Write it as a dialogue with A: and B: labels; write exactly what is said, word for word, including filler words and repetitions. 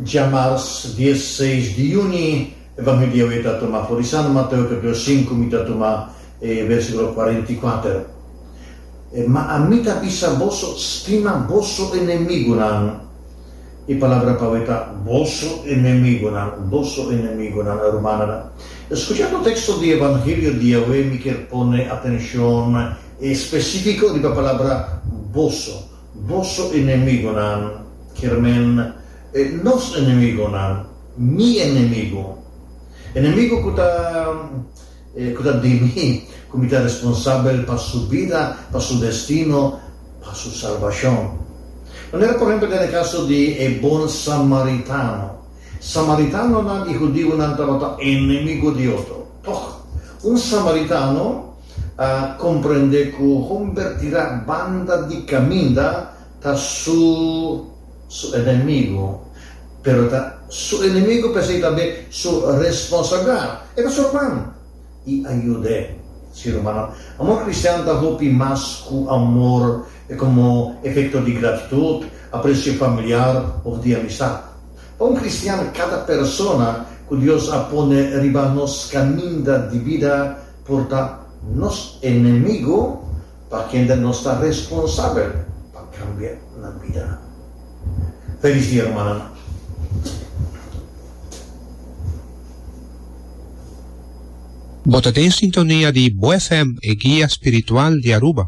A: Djamars diesseis di yüni, Evangelio awe ta tuma for di San Mateo kapítulo sinku, mi ta tuma e versíkulo kuarenta i kuater. Ma ami ta bisa boso, stima boso enemigunan. E palabra pa awe ta boso enemigunan, boso enemigunan, rumannan. Skuchando teksto di Evangelio di awe mi kier pone atenshon espesífiko riba palabra boso. Boso enemigunan, kier men nos enemigunan, mi enemigu. Enemigu ku ta ku ta di mi, ku mi ta responsabel pa su bida, pa su destino, pa su salbashon. Manera por ehempel den e kaso di e bon samaritano. Samaritanonan i hudiunan tabata enemigu di otro. Tòg, un samaritano a komprendé ku homber tirá banda di kaminda ta su su enemigu. Pero ta su enemigu p'esei tambe su responsabilidat. E ta su ruman i a yud'é. Sí, rumannan, amor kristian ta hopi mas ku amor komo efekto di gratitut, apresio familiar òf di amistat. Pa un kristian, kada persona ku Dios a pone riba nos kaminda di bida por ta nos enemigu pa kende nos ta responsabel pa kambia nan bida. Felis dia, rumannan.
B: Bo ta den sintonia di Bo F M, e guia spiritual di Aruba.